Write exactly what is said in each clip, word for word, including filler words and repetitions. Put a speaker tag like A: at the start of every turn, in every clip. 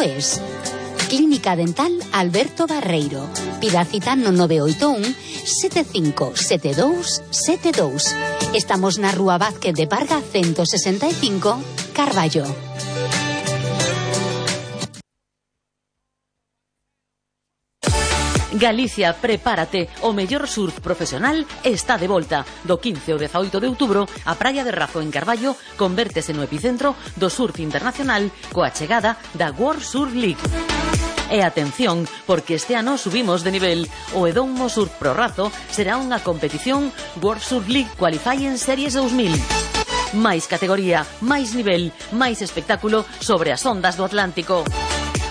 A: es. Clínica Dental Alberto Barreiro. Pida cita no nove oito un, sete cinco sete dous sete dous. Estamos na Rúa Vázquez de Parga ciento sesenta e cinco, Carballo.
B: Galicia, prepárate, o mellor surf profesional está de volta. Do quince ao dezaoito de outubro, a Praia de Razo en Carballo convértese no epicentro do surf internacional coa chegada da World Surf League. E atención, porque este ano subimos de nivel. O Edomo Surf Pro Razo será unha competición World Surf League Qualifying Series dous mil. Máis categoría, máis nivel, máis espectáculo sobre as ondas do Atlántico.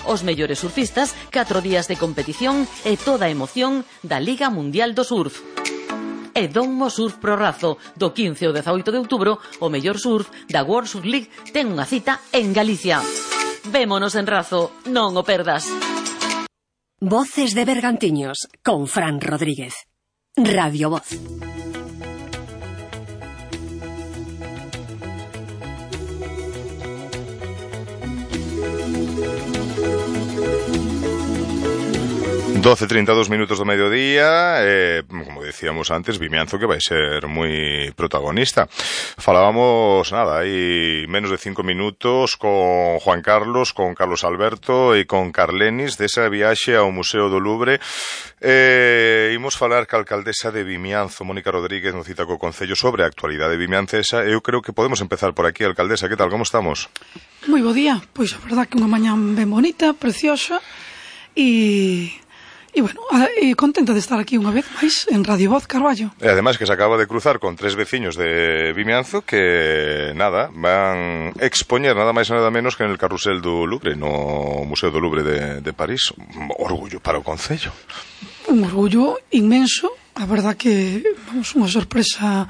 B: Os mellores surfistas, catro días de competición e toda a emoción da Liga Mundial do Surf. Edomo Surf Pro Razo, do quince ao dezaoito de outubro, o mellor surf da World Surf League ten unha cita en Galicia. Vémonos en Razo, non o perdas.
C: Voces de Bergantiños, con Fran Rodríguez. Radio Voz.
D: doce e trinta e dous minutos do mediodía, eh, como decíamos antes, Vimianzo que vai ser moi protagonista. Falábamos, nada, hai menos de cinco minutos con Juan Carlos, con Carlos Alberto e con Carlenis desa viaxe ao Museo do Louvre. Eh, imos falar ca alcaldesa de Vimianzo, Mónica Rodríguez, no cita co Concello sobre a actualidade vimiancesa. Eu creo que podemos empezar por aquí, alcaldesa. Que tal, como estamos?
E: Moi bo día, pois a verdad que unha mañá ben bonita, preciosa e... E, bueno, e contenta de estar aquí unha vez máis en Radio Voz Carballo.
D: E ademais que se acaba de cruzar con tres veciños de Vimianzo que, nada, van expoñer nada máis e nada menos que en el carrusel do Louvre, no Museo do Louvre de, de París. Un orgullo para o Concello.
E: Un orgullo inmenso. A verdad que, vamos, unha sorpresa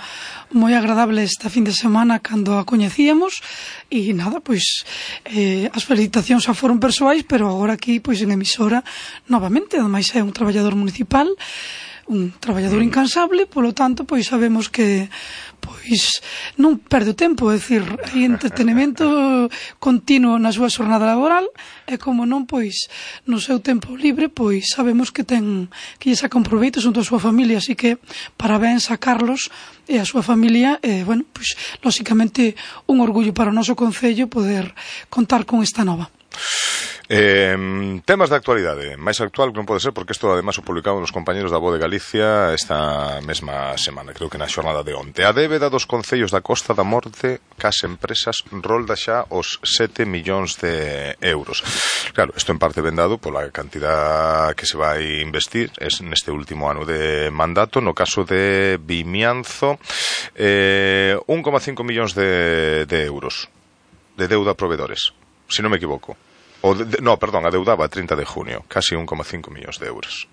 E: moi agradable esta fin de semana cando a coñecíamos e nada, pois eh, as felicitacións xa foron persoais, pero agora aquí, pois en emisora novamente, ademais é un traballador municipal, un traballador incansable, polo tanto, pois sabemos que pois non perde o tempo, é dicir, hai entretenimento continuo na súa xornada laboral e como non, pois no seu tempo libre, pois sabemos que ten que lle saca un proveito xunto a súa familia, así que parabéns a Carlos e a súa familia e, bueno, pois lóxicamente un orgullo para o noso Concello poder contar con esta nova.
D: Eh, temas de actualidade, máis actual que non pode ser, porque isto además o publicaban os compañeros da Voz de Galicia esta mesma semana, creo que na xornada de onte. A débeda dos concellos da Costa da Morte cas empresas rolda xa os sete millóns de euros. Claro, isto en parte vendado pola cantidad que se vai investir es neste último ano de mandato. No caso de Vimianzo, eh, un coma cinco millóns de, de euros de deuda a proveedores, se non me equivoco. O de, no, perdón, adeudaba a trinta de junio, casi un coma cinco millóns de euros.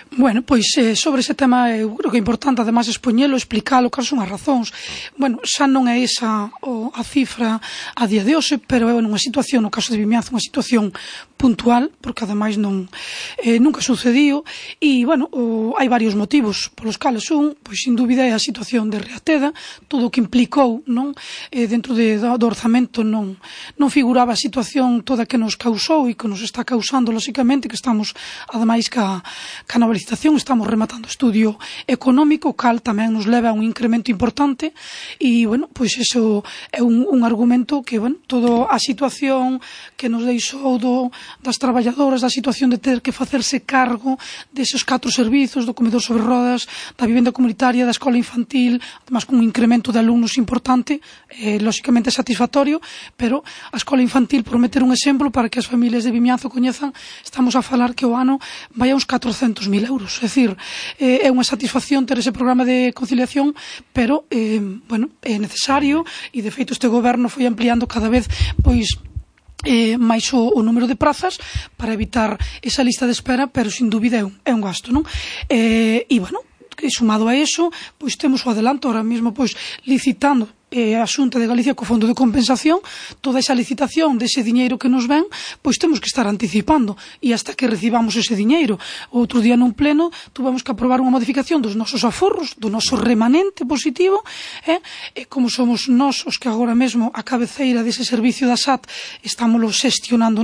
E: Bueno, pois eh, sobre ese tema eu creo que é importante además expoñelo, explicalo, cal son as razóns. Bueno, xa non é esa o, a cifra a día de hoxe, pero é unha situación, no caso de Vimianzo, unha situación puntual, porque ademais non eh, nunca sucediu e, bueno, o, hai varios motivos polos cales un, pois sin dúbida é a situación de Reateda, todo o que implicou, non, eh, dentro de, do, do orzamento non, non figuraba a situación toda que nos causou e que nos está causando, lóxicamente, que estamos ademais ca, ca nova licitación, estamos rematando estudio económico, cal tamén nos leva a un incremento importante e, bueno, pois iso é un, un argumento que, bueno, toda a situación que nos deixou do, das traballadoras, da situación de ter que facerse cargo deses catro servizos, do comedor sobre rodas, da vivenda comunitaria, da escola infantil, además con un incremento de alumnos importante, eh, lóxicamente satisfactorio, pero a escola infantil, por meter un exemplo para que as familias de Vimianzo coñezan, estamos a falar que o ano vai a uns catrocentos mil euros, é dicir, eh, é unha satisfacción ter ese programa de conciliación, pero, eh, bueno, é necesario e de feito este goberno foi ampliando cada vez, pois, Eh, máis o, o número de prazas para evitar esa lista de espera, pero sin dúbida é un, é un gasto, non? Eh, e, bueno, sumado a eso, pois temos o adelanto ahora mesmo, pois, licitando eh, a Xunta de Galicia co Fondo de Compensación, toda esa licitación dese diñeiro que nos ven, pois temos que estar anticipando e hasta que recibamos ese diñeiro. Outro día nun pleno tuvemos que aprobar unha modificación dos nosos aforros, do noso remanente positivo, eh? E como somos nós os que agora mesmo a cabeceira dese servicio da S A T estamos xestionando nós,